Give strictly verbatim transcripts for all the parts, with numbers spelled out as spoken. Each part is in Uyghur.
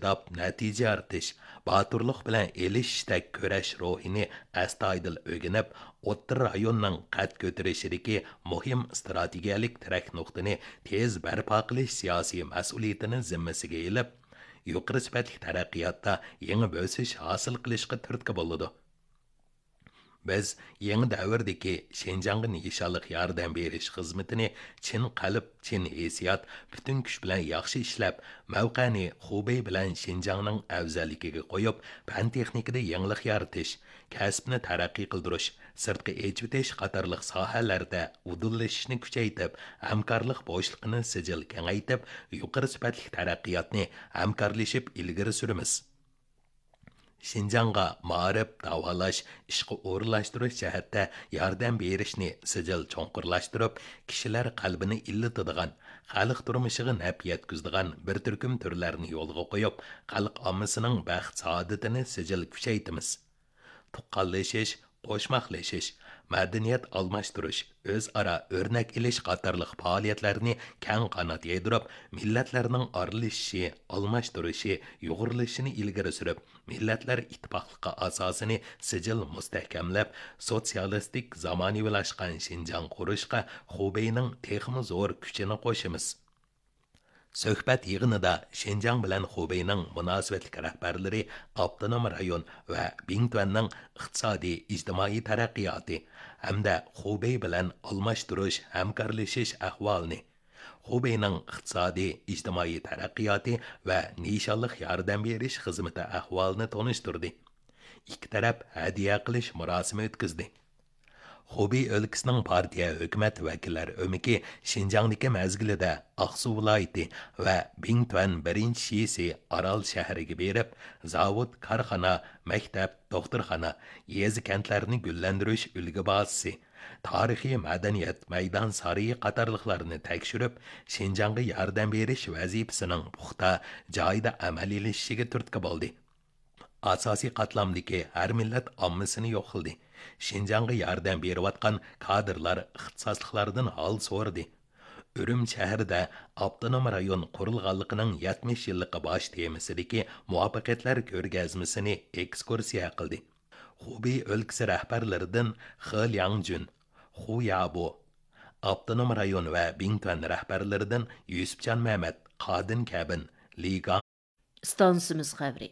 ئىتتىپاق، نەتىجە يارىتىش، باتۇرلۇق بىلەن ئېلىشىشتەك كۈرەش روھىنى ئەستايىدىل ئۆگىنىپ، ئوتتۇرا رايوننىڭ قەد كۆتۈرۈشىدىكى مۇھىم ئىستراتېگىيەلىك تىرەك نۇقتىنى تېز بەرپا قىلىش سىياسىي مەسئۇلىيىتىنى زىممىسىگە ئېلىپ، يۇقىرى سۈپەتلىك تەرەققىياتتا يېڭى بۆسۈش ھاسىل قىلىشقا تۈرتكە بولىدۇ. بىز يېڭى دەۋردىكى شىنجاڭغا نىشانلىق ياردەم بېرىش خىزمىتىنى چىن قەلب، چىن ھېسسىيات، پۈتۈن كۈچ بىلەن ياخشى ئىشلەپ، مەۋقەنى خۇبېي بىلەن شىنجاڭنىڭ ئەۋزەللىكىگە قويۇپ، پەن تېخنىكىدا يېڭىلىق يارىتىش، كەسىپنى تەرەققىي قىلدۇرۇش، سىرتقا ئېچىۋېتىش قاتارلىق ساھەلەردە ئۇدۇللىشىشنى كۈچەيتىپ، ھەمكارلىق بوشلۇقىنى سىجىل كېڭەيتىپ، يۇقىرى سۈپەتلىك تەرەققىياتنى ھەمكارلىشىپ ئىلگىرى سۈرىمىز. شىنجاڭغا مائارىپ، داۋالاش، ئىشقا ئورۇنلاشتۇرۇش جەھەتتە ياردەم بېرىشنى سىجىل چوڭقۇرلاشتۇرۇپ، كىشىلەر قەلبىنى ئىللىتىدىغان، خەلق تۇرمۇشىغا نەپ يەتكۈزىدىغان بىر تۈركۈم تۈرلەرنى يولغا قويۇپ، خەلق ئاممىسىنىڭ بەخت-سائادىتىنى سىجىل كۈچەيتىمىز. تۇغقانلىشىش، قوشماقلىشىش، مەدەنىيەت ئالماشتۇرۇش، ئۆزئارا ئۆرنەك ئېلىش قاتارلىق پائالىيەتلەرنى كەڭ قانات يايدۇرۇپ، مىللەتلەرنىڭ ئارىلىشىشى، ئالماشتۇرۇشى، يۇغۇرۇلۇشىنى ئىلگىرى سۈرۈپ، مىللەتلەر ئىتتىپاقلىقى ئاساسىنى سىجىل مۇستەھكەملەپ، سوتسىيالىستىك زامانىۋىلاشقان شىنجاڭ قۇرۇشقا خۇبېينىڭ تېخىمۇ زور كۈچىنى قوشىمىز. سۆھبەت يىغىنىدا شىنجاڭ بىلەن خۇبېينىڭ مۇناسىۋەتلىك رەھبەرلىرى ئاپتونوم رايون ۋە بىڭتۈەننىڭ ئىقتىسادىي، ئىجتىمائىي تەرەققىياتى ھەمدە خۇبېي بىلەن ئالماشتۇرۇش، ھەمكارلىشىش ئەھۋالىنى، خۇبېينىڭ ئىقتىسادىي، ئىجتىمائىي تەرەققىياتى ۋە نىشانلىق ياردەم بېرىش خىزمىتى ئەھۋالىنى تونۇشتۇردى. ئىككى تەرەپ ھەدىيە قىلىش مۇراسىمى ئۆتكۈزدى. خۇبېي ئۆلكىسىنىڭ پارتىيە ھۆكۈمەت ۋەكىللەر ئۆمىكى شىنجاڭدىكى مەزگىلىدە ئاقسۇ ۋىلايىتى ۋە بىڭتۈەن بىرىنچى شىسى ئارال شەھىرىگە بېرىپ، زاۋۇت، كارخانا، مەكتەپ، دوختۇرخانا، يېزا، كەنتلەرنى گۈللەندۈرۈش ئۈلگە بازىسى، تارىخىي مەدەنىيەت مەيدان سارىيى قاتارلىقلارنى تەكشۈرۈپ، شىنجاڭغا ياردەم بېرىش ۋەزىپىسىنىڭ پۇختا، جايىدا ئەمەلىيلىشىشىگە تۈرتكە بولدى. ئاساسىي قاتلامدىكى ھەر مىللەت ئاممىسىنى يوقلىدى. شىنجاڭغا ياردەم بېرىۋاتقان كادىرلار ئىختىساسلىقلاردىن ھال سورىدى. ئۈرۈمچى شەھىرىدە ئاپتونوم رايون قۇرۇلغانلىقىنىڭ يەتمىش يىللىقى باش تېمىسىدىكى مۇۋەپپەقىيەتلەر كۆرگەزمىسىنى ئېكسكۇرسىيە قىلدى. خۇبېي ئۆلكىسى رەھبەرلىرىدىن خې لياڭجۈن، خۇ يابو، ئاپتونوم رايون ۋە بىڭتۈەن رەھبەرلىرىدىن يۈسۈپجان مەمەت، قادىن كەبىن، لى گاڭ، ئىستانسىمىز خەۋىرى.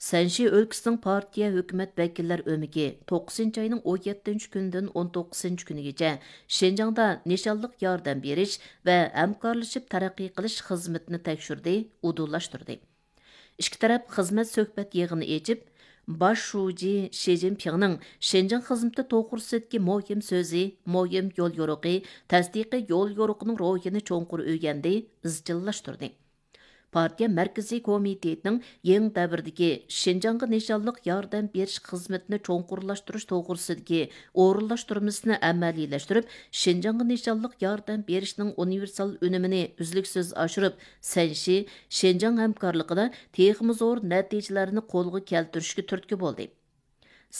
سەنشى ئۆلكىسىنىڭ پارتىيە ھۆكۈمەت ۋەكىللەر ئۆمىكى توققۇزىنچى ئاينىڭ ئون يەتتىنچى كۈنىدىن ئون توققۇزىنچى كۈنىگىچە شىنجاڭدا نىشانلىق ياردەم بېرىش ۋە ھەمكارلىشىپ تەرەققىي قىلىش خىزمىتىنى تەكشۈردى، ئۇدۇللاشتۇردى. ئىككى تەرەپ خىزمەت سۆھبەت يىغىنى ئېچىپ، باش شۇجى شى جىنپىڭنىڭ شىنجاڭ خىزمىتى توغرىسىدىكى مۇھىم سۆزى، مۇھىم يول يورۇقى، تەستىقىي يول يورۇقىنىڭ روھىنى چوڭقۇر ئۆگەندى، ئىزچىللاشتۇردى. پارتىيە مەركىزىي كومىتېتىنىڭ يېڭى دەۋردىكى شىنجاڭغا نىشانلىق ياردەم بېرىش خىزمىتىنى چوڭقۇرلاشتۇرۇش توغرىسىدىكى ئورۇنلاشتۇرمىسىنى ئەمەلىيلەشتۈرۈپ، شىنجاڭغا نىشانلىق ياردەم بېرىشنىڭ ئۇنىۋېرسال ئۈنۈمىنى ئۈزلۈكسىز ئاشۇرۇپ، سەنشى، شىنجاڭ ھەمكارلىقىدا تېخىمۇ زور نەتىجىلەرنى قولغا كەلتۈرۈشكە تۈرتكە بولدى.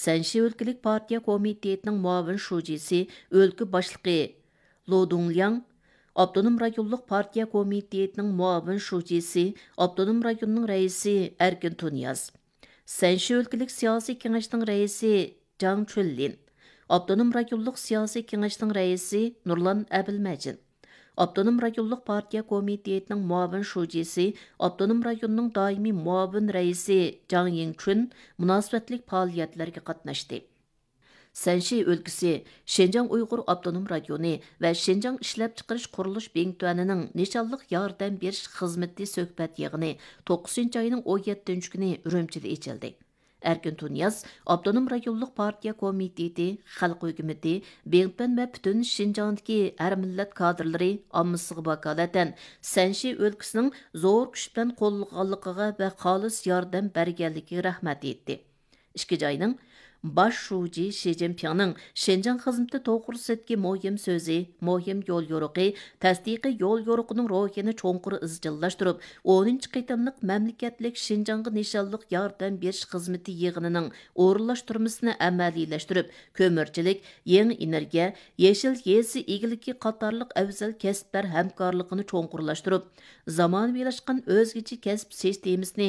سەنشى ئۆلكىلىك پارتىيە كومىتېتىنىڭ مۇئاۋىن شۇجىسى، ئۆلكە باشلىقى لو دۇڭلياڭ، ئاپتونوم رايونلۇق پارتىيە كومىتېتىنىڭ مۇئاۋىن شۇجىسى، ئاپتونوم رايوننىڭ رەئىسى ئەركىن تۇنىياز، سەنشى ئۆلكىلىك سىياسىي كېڭەشنىڭ رەئىسى جاڭ چۈنلىن، ئاپتونوم رايونلۇق سىياسىي كېڭەشنىڭ رەئىسى نۇرلان ئەبىلمەجىت، ئاپتونوم رايونلۇق پارتىيە كومىتېتىنىڭ مۇئاۋىن شۇجىسى، ئاپتونوم رايوننىڭ دائىمىي مۇئاۋىن رەئىسى جاڭ يىڭچۈن مۇناسىۋەتلىك پائالىيەتلەرگە قاتناشتى. سەنشى ئۆلكىسى شىنجاڭ ئۇيغۇر ئاپتونوم رايونى ۋە شىنجاڭ ئىشلەپچىقىرىش قۇرۇلۇش بىڭتۈەنىنىڭ نىشانلىق ياردەم بېرىش خىزمىتى سۆھبەت يىغىنى توققۇزىنچى ئاينىڭ ئون يەتتىنچى كۈنى ئۈرۈمچىدە ئېچىلدى. ئەركىن تۇنىياز ئاپتونوم رايونلۇق پارتىيە كومىتېتى، خەلق ھۆكۈمىتى، بىڭتۈەن ۋە پۈتۈن شىنجاڭدىكى ھەر مىللەت كادىرلىرى ئاممىسىغا ۋاكالىتەن سەنشى ئۆلكىسىنىڭ زور كۈچ بىلەن قوللىغانلىقىغا ۋە خالىس ياردەم بەرگەنلىكىگە رەھمەت ئېيتتى. ئىككىنچى ئاينىڭ باش شۇجى شى جىنپىڭنىڭ شىنجاڭ خىزمىتى توغرىسىدىكى مۇھىم سۆزى، مۇھىم يول يورۇقى، تەستىقىي يول يورۇقىنىڭ روھىنى چوڭقۇر ئىزچىللاشتۇرۇپ، ئونىنچى قېتىملىق مەملىكەتلىك شىنجاڭغا نىشانلىق ياردەم بېرىش خىزمىتى يىغىنىنىڭ ئورۇنلاشتۇرمىسىنى ئەمەلىيلەشتۈرۈپ، كۆمۈرچىلىك، يېڭى ئېنېرگىيە، يېشىل يېزا ئىگىلىكى قاتارلىق ئەۋزەل كەسىپلەر ھەمكارلىقىنى چوڭقۇرلاشتۇرۇپ، زامانىۋىلاشقان ئۆزگىچە كەسىپ سىستېمىسىنى